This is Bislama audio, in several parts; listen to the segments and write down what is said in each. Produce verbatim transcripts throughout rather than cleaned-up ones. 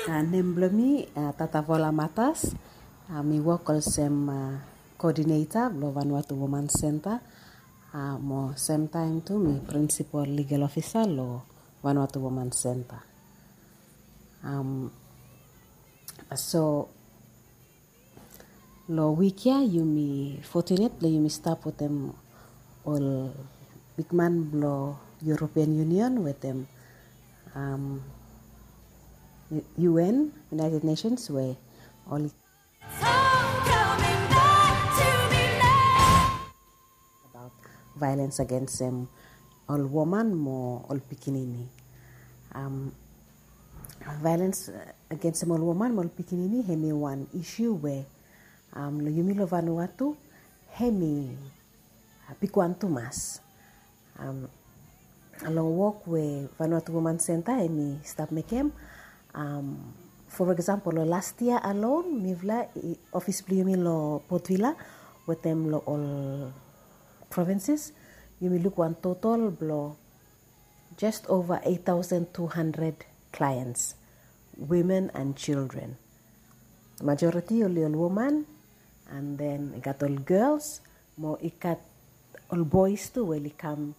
Nem blong mi Tatavola Matas. Mi wok olsem coordinator blong Vanuatu Woman Center. Mo semtaem tu mi principal legal officer long Vanuatu Woman Center. So long wik ya yumi fortunate blong yumi stap wetem ol bigman blong European Union wetem U N, United Nations, we oli about violence agensem ol woman mo ol pikinini. Violence agensem ol woman mo ol pikinini hemi wan issue we long yumi long Vanuatu hemi bigwan tumas. Long wok we Vanuatu Woman Center hemi stap mekem, for example long last year alone mifala office blong yumi long Port Vila wetem long ol provinces, yumi luk wan total blong just over eight thousand two hundred clients, women and children. Majority oli ol woman, and then i gat ol girls mo i gat ol boys tu we oli kam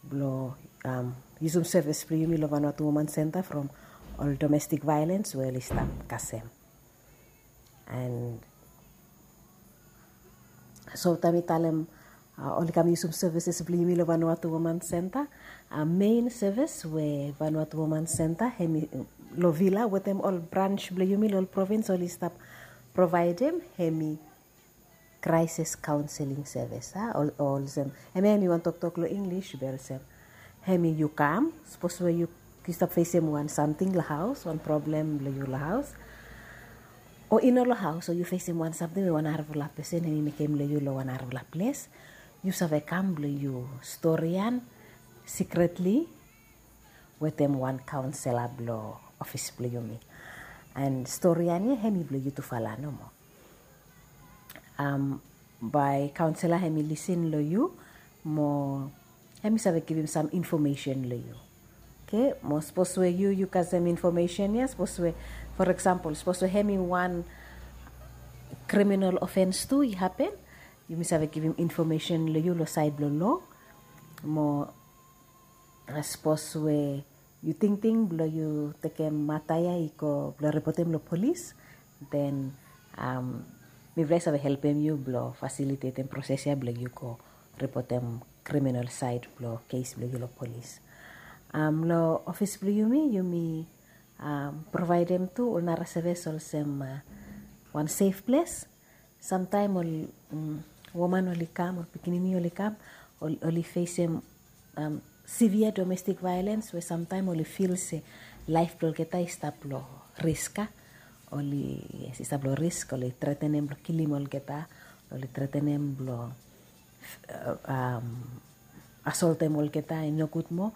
blong yusum service blong yumi long Vanuatu Woman Center from ol domestic violence we oli stap kasem. And so taem mi talem oli kam yusum services blong yumi long Vanuatu Woman Center, main service we Vanuatu Woman Center hemi long Vila wetem ol branch blong yumi long ol province oli stap provaedem hemi crisis counseling service. Olsem hemia hemi wan toktok long English be olsem hemi yu kam, sapos we yu stap fesem wan samting long haos, wan problem blong yu long haos, o i no long haos, o yu fesem wan samting we wan arafala pesen hemi mekem long yu long wan arafala ples, yu save kam blong yu storian secretly wetem wan kaonsela blong ofis blong yumi. And storian ya hemi blong yutufala nomo. Bae kaonsela hemi lisin long yu mo hemi save givim sam infomesen long yu. Oke, mo sapos we yu yu kasem infomesen ya, sapos we, for example, sapos we hemi wan kriminal ofens tu i hapen, yumi save givim infomesen long yu long saed blong lo. Mo sapos we yu tingting blong yu tekem mata ya i go blong ripotem long polis, then mifala i save helpem yu blong fasilitetem proses ya blong yu go ripotem kriminal saed blong kes blong yu long polis. Long ofis blong yumi yumi provaedem tu ol nara sevis olsem wan sef ples. Samtaem ol woman oli kam, ol pikinini oli kam, oli fesem severe domestic violence we samtaem oli fil se laef blong olgeta i stap long risk. Oli, yes, i stap long risk, oli tretenem blong kilim olgeta, oli tretenem blong asoltem olgeta i nogud moa.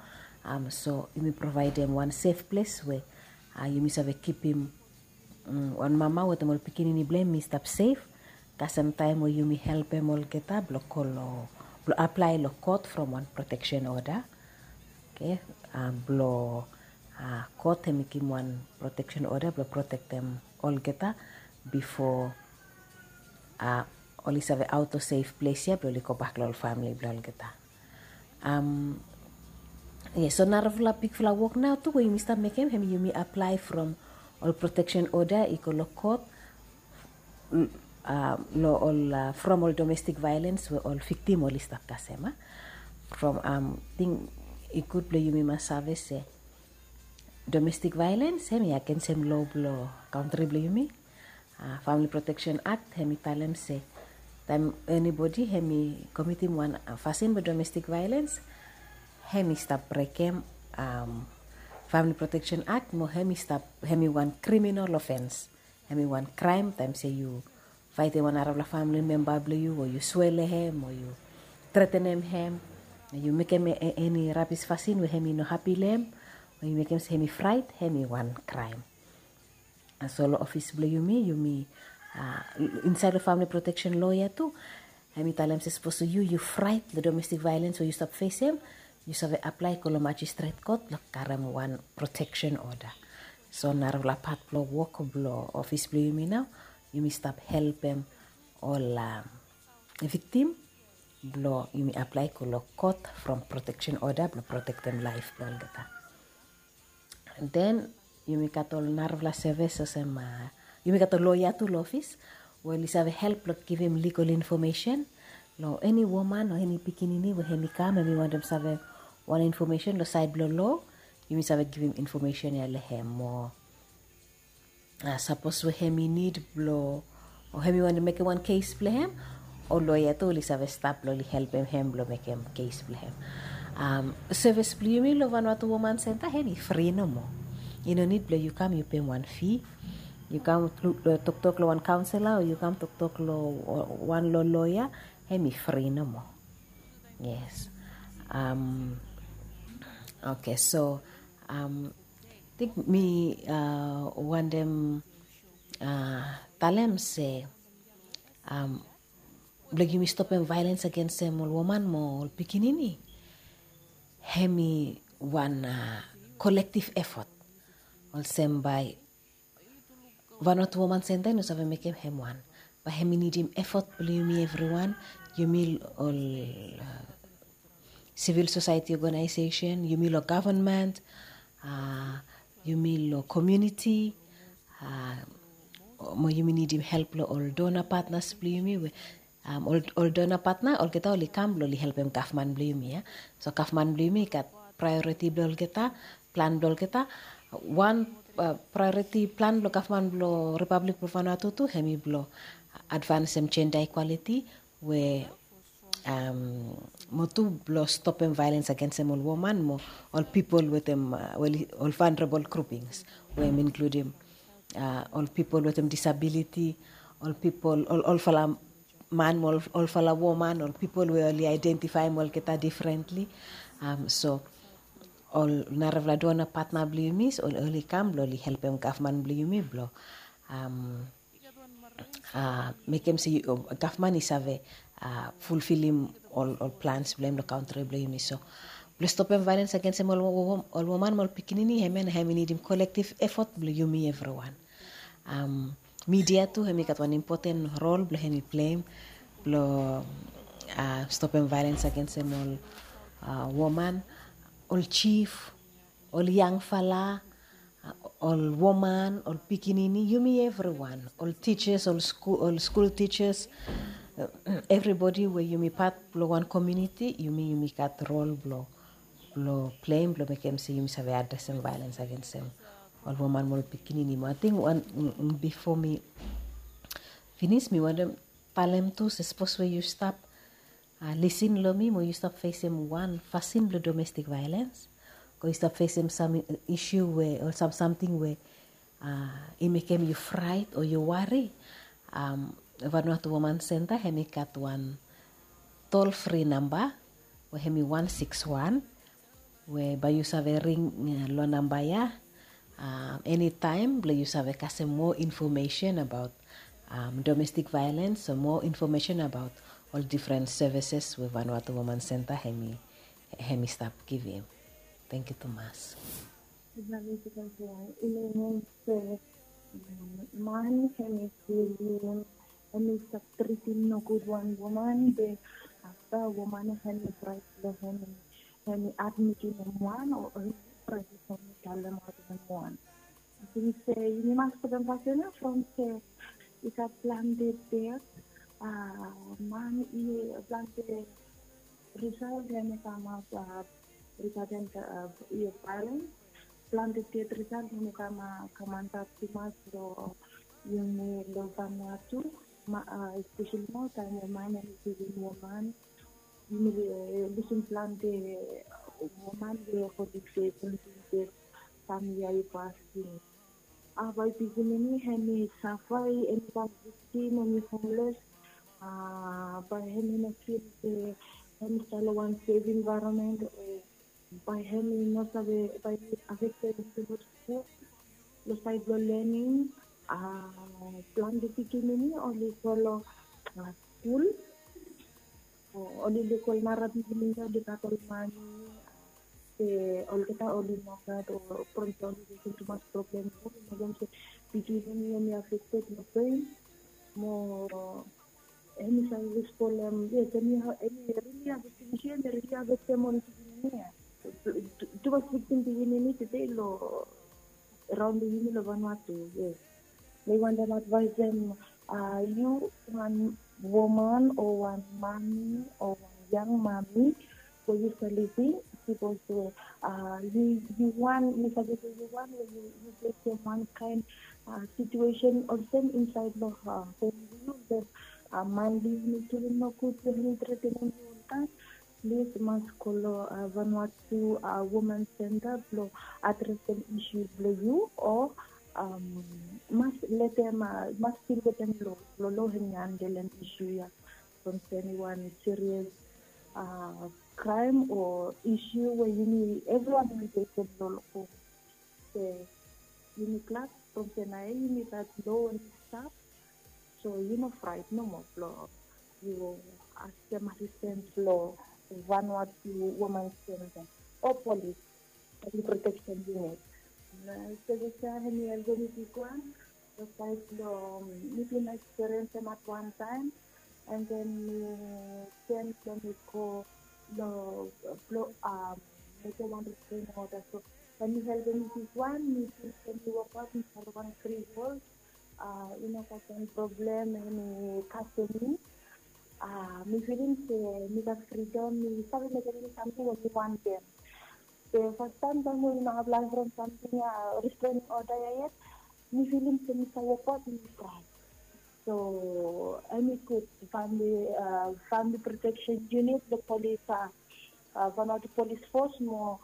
So yumi provaedem wan sef ples we yumi save kipim wan mama wetem ol pikinini blong hem i stap sef. Kasem taem we yumi helpem olgeta blong go long, blong aplae long kot from wan proteksen oda. Oke, blong kot hemi givim wan proteksen oda blong protektem olgeta bifo oli save aot long sef ples ya blong oli gobak long ol famili blong olgeta. Yes, so narafala bigfala wok nao tu we yumi stap mekem hemi yumi aplae from ol proteksen oda i go long kot long ol from ol domestik vaelens we ol viktim oli stap kasem. From ting i gud blong yumi mas save se domestik vaelens hemi agensem loa blong kantri blong yumi. Famili Proteksen Akt hemi talem se taem enibodi hemi komitim wan fasin blong domestik vaelens, hemi stap brekem Famili Proteksen Akt mo hemi stap, hemi wan kriminal ofens. Hemi wan kraem taem se yu faetem wan narafala famili memba blong yu, o yu swea long hem, o yu tretenem hem, yu mekem eni rabis fasin we hemi no hapi long hem, o yu mekem se hemi fraet, hemi wan kraem. So long ofis blong yumi, yumi insaed long famili proteksen loa ya tu, hemi talem se sapos yu yu fraet long domestik vaelens we yu stap fesem, yu save aplae go long majistret kot blong karem wan proteksen oda. So narafala pat blong wok blong ofis blong yumi nao, yumi stap helpem ol viktim blong yumi aplae i go long kot from protection order blong protektem laef blong olgeta. Den yumi gat ol narafala sevis olsem, yumi gat ol loea tu long ofis we oli save help long givim legal information long eni woman o eni pikinini we hemi kam hemi wantem save wan information long saed blong loa. Yumi save givim information ya long hem o sapos we hemi nid blong o hemi wantem mekem wan kes blong hem, ol loea tu oli save stap blong oli helpem hem blong mekem kes blong hem. Sevis blong yumi long Vanuatu Woman Center hemi fri nomo. I no nid blong yu kam yu pem wan fi. Yu kam toktok long wan kaonsela o yu kam toktok long wan long loea, hemi fri nomo. Yes. Oke, so ating mi wantem talem se blong yumi stopem vaelens agensem ol woman mo ol pikinini, hemi wan kolektiv efot. Olsem bae Vanuatu Woman Center i no save mekem hem wan. Bae hemi nidim efot blong yumi evriwan, yumi ol sivil sosaeti ogenaesesen, yumi long gavman, yumi long komuniti, mo yumi nidim help long ol dona patnas blong yumi we ol dona patna olgeta oli kam blong oli helpem gavman blong yumi ya. So gavman blong yumi i gat praeoriti blong olgeta, plan blong olgeta. Wan praeoriti plan blong gavman blong Ripablik blong Vanuatu tu hemi blong advansem jenda ikwaliti we mo tu blong stopem vaelens agensem ol woman mo ol pipol wetem ol vanrebol grupings we hem inkludim ol pipol wetem disabiliti, ol pipol, olfala man mo olfala woman, ol pipol we oli aedentifaem olgeta difrentli. So ol narafala dona patna blong yumi oli kam blong oli helpem gavman blong yumi blong mekem se gavman i save fulfilim ol plans blong hem long kantri blong yumi. So blong stopem vaelens agensem ol woman mo ol pikinini, hemia na hem i nidim kolektiv efot blong yumi evriwan. Midia tu hem i gat wan impoten rol blong hem i pleim blong stopem vaelens agensem ol woman, ol jif, ol yangfala, ol woman, ol pikinini, yumi evriwan, ol tijas, ol skul tijas, evribodi we yumi pat blong wan komuniti, yumi yumi gat rol blong blong pleim blong mekem se yumi save adresem vaelens agensem ol woman mo ol pikinini. Mo ating wan bifo mi finis mi wantem talem tu se sapos we yu stap lisin long mi mo yu stap fesem wan fasin blong domestik vaelens, o yu stap fesem sam isu we o sam samting we i mekem yu fraet o yu wari, Vanuatu Woman Center hem i gat wan tol fri namba we hem i wan sikis wan, we bae yu save ring long namba ya enitaem blong yu save kasem moa infomesen abaot domestik vaelens o moa infomesen abaot ol difren sevises we Vanuatu Woman Center hem i hem i stap givim. Tangkiu tumas. Yu save, yu save, yu save, man hem i filim hem i stap tritim nogud wan woman, be afta woman hem i fraet long hem, hem i admitim hem wan o hem i fraet long hem i talemaot hem wan. Ating se yumi mas putum fasin ya from se i gat plante det, man i plante risalt hem i kamap rigaden vaelens. Plante det risalt hem i kam kam antap tumas long yumi long Vanuatu, espeseli naotaem we man hem i kilim woman. Yumi lusim plante woman we kolim se plante det famili ya i pasim. Bae pikinini hem i safa, hem i kam viktim, hem i homles. Bae hem i no fil se hem i stap long wan sef envaeronmen o bae hem i no save, bae i afektem skul, long saed blong lening. Plante pikinini oli go long skul, oli luk ol nara pikinini oli gat ol mane, se olgeta oli no gat o from se oli fesem tumas problem, oli mekem se pikinini hemi affected long brain mo hemi save spoilem, yes, hemi, hemi really affected, hemi really affected mo pikinini ya. Tumas victim pikinini tede long raon blong yumi long Vanuatu, yes. Mi wantem advaesem yu wan woman o wan mami o wan yang mami we yu stap lisin, bikos we yu, yu wan, mi save se yu wan we yu, yu fesem wan kaen situation olsem insaed long famili blong yu, blong man blong yu, mi tu nogud blong hemi tretenem yu oltaem. Plis mas go long Vanuatu Women Center blong adresem isu blong yu o mas letem, mas stil wetem lo, lo lo hemi handelem isu ya. From se eni wan serious kraem o isu we yumi evriwan yumi fesem lo, lo hom. Se yumi glad from se naoia yumi gat lo hemi stap. So yu no fraet nomo blong yu askem asistens long Vanuatu Women Center o polis, Family Protection Unit. Na service ya hemi helpem mi bigwan, besides long mi bin experience hem at one time, and then mi turn blong mi go long, blong mekem wan restraining order. So hemi helpem mi bigwan, mi bin, mi wokbaot insaed long wan freehold. I no gat eni problem, hemi kasem mi. Mi filim se mi gat fridom, mi save mekem eni samting we mi wantem. Be fastaem taem we mi no aplaem from samting ya, restraining order ya yet, mi filim se mi save wokbaot, mi traem. So hemi gud, Family, Family Protection Unit, the police, Vanuatu Police Force mo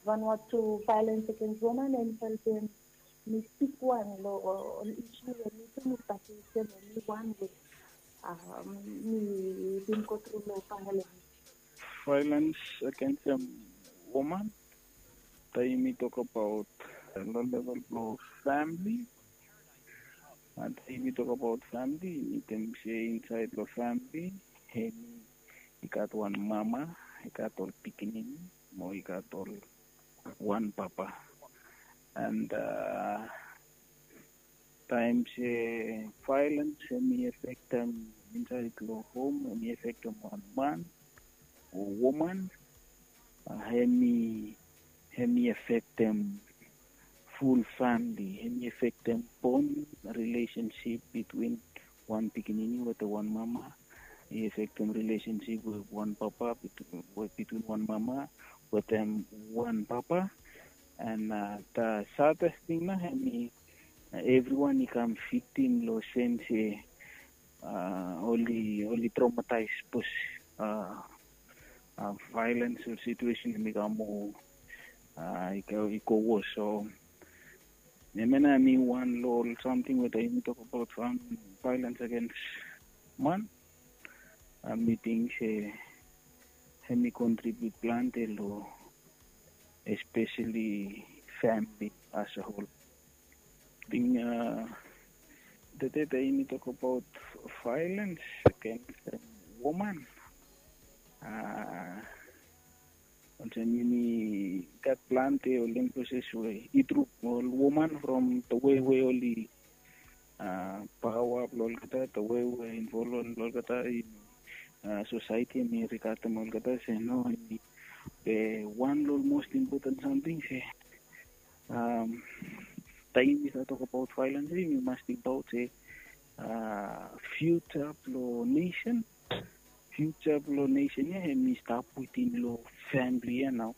Vanuatu Violence Against Women, hemi helpem mi bigwan long ol isu we mi tu mi stap fesem, we mi wan we mi bin go tru long famili. Violence against a woman. Taem yumi tokbaot lo level blong famili, taem yumi tokbaot famili, yumi talem se insaed long famili hemi i gat wan mama, i gat ol pikinini mo i gat ol wan papa. And taem se violence hemi afektem insaed long hom, hemi afektem wan man o woman, hemi, hemi afektem ful famili, hemi afektem bond relationship between wan pikinini wetem wan mama. I afektem relationship we wan papa, between, we between wan mama wetem wan papa. And the saddest thing nao, hemi evriwan i kam victim long sem se oli, oli traumatize bikos violence o situation hemi kam moa, i go, i go worse. So hemia nao hemi wan long ol samting we taem yumi tokbaot violence against man, mi ting se hemi contribute plante long especially family as a whole. Ting tede taem yumi tokbaot violence against woman, olsem yumi gat plante ol emphasis we i tru ol woman from the way we oli paoa blong olgeta, the way we involvem long olgeta, sosaeti hemi rigatem olgeta se no, hemi be wan long ol most important samting se taem yumi stap tokbaot violence, yumi mas tingbaot se future blong nesen, future blong nesen ya hemi stap wetem long famili ya nao.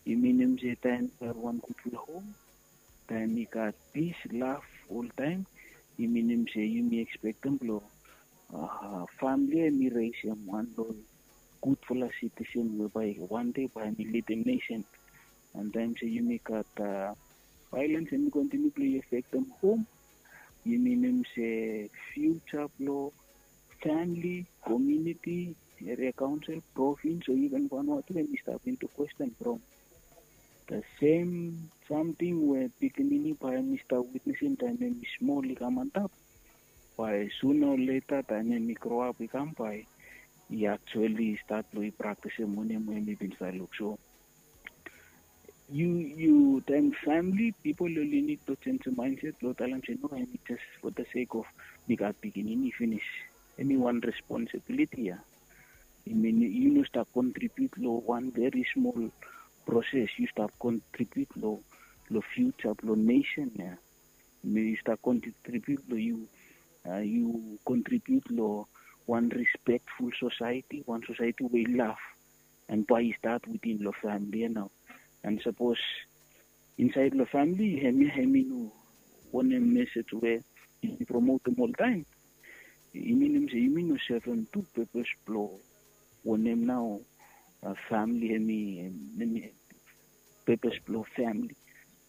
I minim se taem i gat wan gudfala hom, taem i gat pis, love oltaem, i minim se yumi ekspektem blong famili ya hemi resem wan long ol gudfala sitisen we bae wan dei bae hemi lidim nesen. And taem se yumi gat violence hemi kontiniu blong i afektem hom, i minim se future blong famili, komuniti, eria kaonsel, provins o iven Vanuatu hemi stap into question from the same samting we pikinini bae hemi stap witnesem taem hemi smol i kam antap. Bae sooner or later taem hemi grow up i kam, bae i actually stat blong i praktisem wanem we hemi bin stap luk. So Yu yu taem famili pipol oli nid blong jenjem mindset blong talem se no, hemi jes for the sake of mi gat pikinini finis. Hemi wan responsibiliti ya. I min yu no stap kontribiut long wan veri smol proses, yu stap kontribiut long long fiuja blong nesen ya. I min yu stap kontribiut long yu, yu kontribiut long wan respekful sosaeti, wan sosaeti we i lav. And bae i stat witin long famili ya nao. And sapos insaed long famili hemia hemi no wanem mesej we i promotem oltaem, i minim se yumi no sevem tu pepes blong wanem nao famili hemi, hemi pepes blong famili.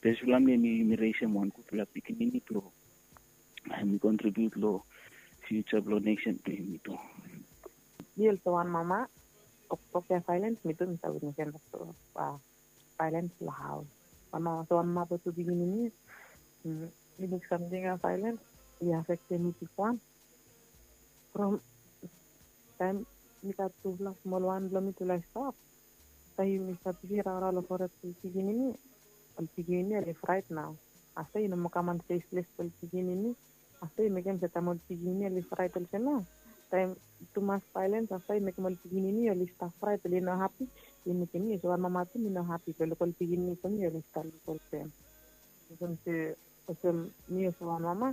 Pepes blong famili hemi yumi resem wan gudfala pikinini blong hemi kontribiut long fiuja blong nesen blong yumi tu. Mi olsem wan mama, toktok ya vaelens, mi tu mi save witnesem toktok vaelens long haos. Wan mama olsem wan mama blong tu pikinini, mi luk samting ya vaelens i afektem mi bigwan. From taem mi gat tufala smol wan blong mi tufala i stap, taem yumi stap bisi raorao long fored blong pikinini, ol pikinini oli fraet nao. Afta i no moa kam wan sef ples blong ol pikinini. Afta i mekem se taem ol pikinini oli fraet olsem ya, taem tumas vaelens afta i mekem ol pikinini oli stap fraet, oli no hapi. I mekem mi olsem wan mama tu mi no hapi blong luk ol pikinini blong mi oli stap luk olsem. Olsem se, olsem mi olsem wan mama,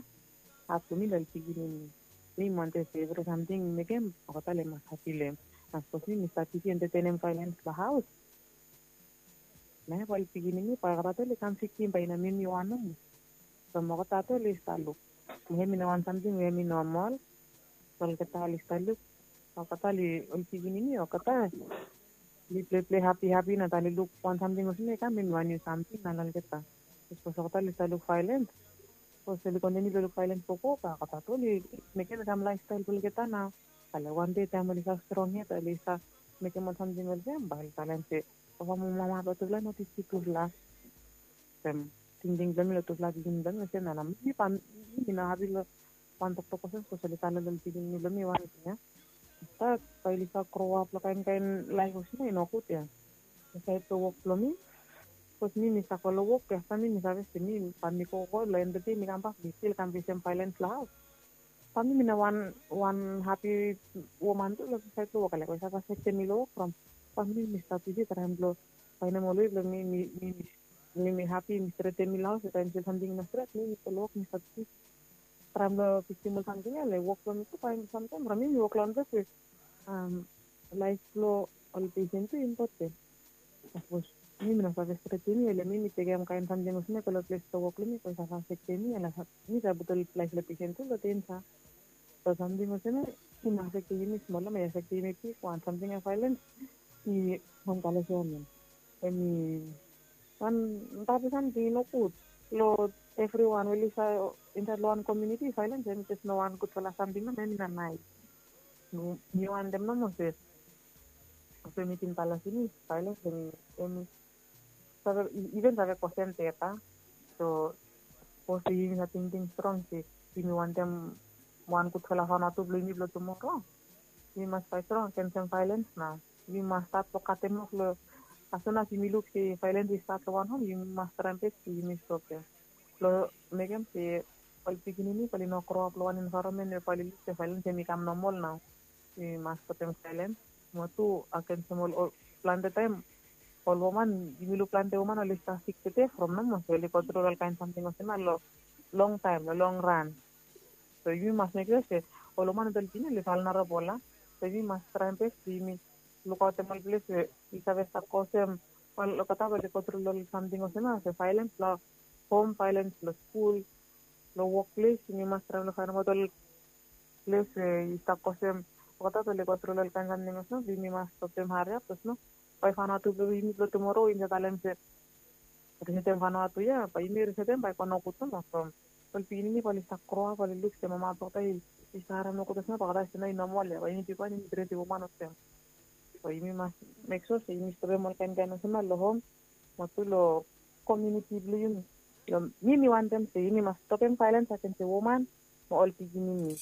hap blong mi long ol pikinini. Mi wantem se evri samting mi mekem olgeta oli mas hapi long hem. Na sapos mi mi stap bisi entetenem vaelens long haos, na bae ol pikinini bae olgeta tu oli kam vitim bae i no mi mi wan nomo. From olgeta tu oli stap luk, hemi no wan samting we hemi nomol. Olgeta oli stap luk, olgeta oli, ol pikinini olgeta oli pleple hapi hapi, na ta oli luk wan samting olsem ya i kam hemi wan niu samting na long olgeta. Sapos olgeta oli stap luk vaelens, sapos oli kontiniu blong luk vaelens gogo, bae olgeta tu oli mekem i kam laefstael blong olgeta nao. Ale wan dei taem oli stap strong ya, bae oli stap mekem ol samting olsem, bae oli talem se, papa mo mama blong tufala i no tistim tufala. Olsem tingting blong mi long tufala pikinini blong mi olsem nao, mi bae mi no hapi long wan toktok olsem, sapos oli talem long pikinini blong mi wanting ya. Afta bae oli stap groap long kaen kaen laef olsem ya i nogud ya. Insaed long wok blong mi, sapos mi mi stap go long wok ya, afta mi mi save se mi bae mi gogo long en blong dei mi kambak mi stil kam fesem vaelens long haos. Bae mi mi no wan, wan hapi woman tu long saed blong wok, ale bae i save afektem mi long wok from bae mi mi stap bisi traem blong faenem ol wei blong mi mi mi mi mi hapi, mi stretem mi long haos. Taem stil samting i no stret, mi mi go long wok mi stap bisi traem blong fiksim ol samting ya, ale wok blong mi tu bae samtaem from mi mi wok long ol ples we laef blong ol pesen tu i impoten. Sapos mi mi no save stretem mi, ale mi mi tekem kaen samting olsem ya go long ples blong wok blong mi, bae i save afektem mi, ale mi save putum laef blong pesen tu long denja. So samting olsem ya i no afektem yumi smol, hemi afektem yumi bigwan. Samting ya vaelens i wan kalasia wanem, hemi wan tabu samting i nogud long evriwan we oli stap insaed long wan komuniti. Vaelens hemi jes no wan gudfala samting nomo, hemi no naes. Mi wantem nomo se olsem mi bin talem finis, vaelens hemi, hemi save, i even save kosem ded. So sapos yumi save tingting strong se yumi wantem wan gudfala fanua tu blong yumi blong tumoro, yumi mas faet strong agensem vaelens nao. Yumi mas stat long katem of long, as soon as yumi luk se vaelens i stat long wan hom, yumi mas traem bes blong yumi stopem. Blong mekem se ol pikinini bae oli no groap long wan envaeronmen we bae oli luk se vaelens hemi kam nomol nao. Yumi mas stopem vaelens. Mo tu agensem ol, ol plante taem ol woman, yumi luk plante woman oli stap sik tede from nomo se oli go tru long ol kaen samting olsem ya long longtaem, long longran. So yumi mas mek sua se ol woman wetem ol pikinini oli vulnerable ya. So yumi mas traem bes blong yumi lukaotem ol ples we i save stap kosem ol, olgeta bae oli go tru long ol samting olsem ya, se vaelens long hom, vaelens long skul, long wokples. Yumi mas traem long faenem aot ol ples we i stap kosem olgeta bae oli go tru long ol kaen samting olsem ya, blong yumi mas stopem hariap, bikos no, bae i fanua tu blong yumi blong tumoro i no talem se risetem fanua tu ya, bae yumi risetem bae i go nogud nomo from ol pikinini bae oli stap groap bae oli luk se mama blong olgeta i stap harem nogud olsem ya, bae olgeta i se no, i nomol ya, bae yumi bigwan yumi tretem woman olsem. So yumi mas mek sua se yumi stopem ol kaen kaen olsem ya long hom mo tu long komuniti blong yumi. Long mi mi wantem se yumi mas stopem vaelens agensem woman mo ol pikinini.